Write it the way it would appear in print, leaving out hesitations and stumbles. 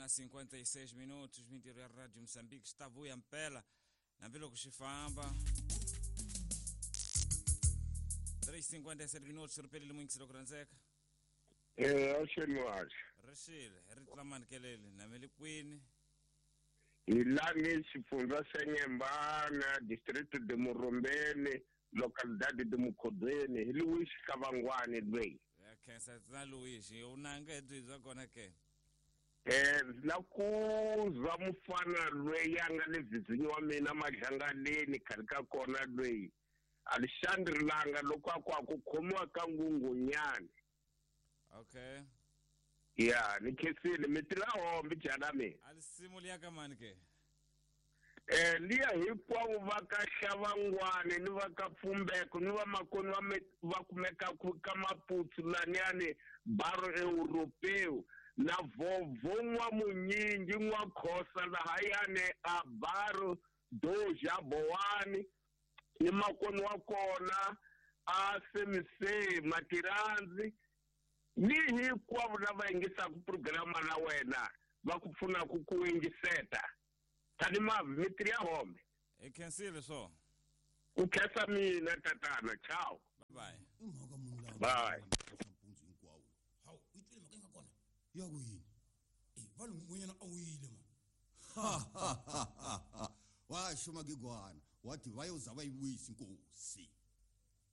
Na 56 minutos mintirho ya Radio Moçambique xi ta vuya mpela hambiloko xi famba. 3:57 minutos ri pelile muyingiselo ku rhandzeka. Avuxeni muhaxi. Ri xile ri tlula manikeleli namele kwini. Hi lani xifundza xa Nyembana, distrito de Murumbeni, localidade de Mukhodweni, hi Louis Xikavangwani lweyi. Ya khensa na Louis, u nanga hi byi bya kona ke? Na ku zwa mufana lweyi a nga le vhizinyi wa mina Madlangaleni khale ka kona lweyi Alexandre Langa loko a ku a ku khomiwa ka Nghunghunyani. Okay. Ya, ni khensile mi tirha hombi jana mina. A risimu liya ka mani ke? Liya hinkwavo va ka Xavangwani ni va ka Pfumbeko ni va makoni va me va kumekaku ka Maputsu laniyani Baro Europeu na Vhovho N'wamunyingi N'wakhosa lahayani a Baro Doja Bowani ni makoni wa kona a Semisei Matirandzi ni hinkwavo lava yingisaka programa na wena va ku pfunaka ku yingiseta. Tani mavi mi tirha home. Hi khensile swo. Ku khensa mina tatana. Ciao. Bye. I mhaka muni laha Bye. mpundzu hinkwawo? Hawu, u yi twile mhaka yi nga kona? Ya ku yini? E, va lo n'wanyana a wile mani. Washo magigwana wathi vayoza va yi vuyisa inkosi.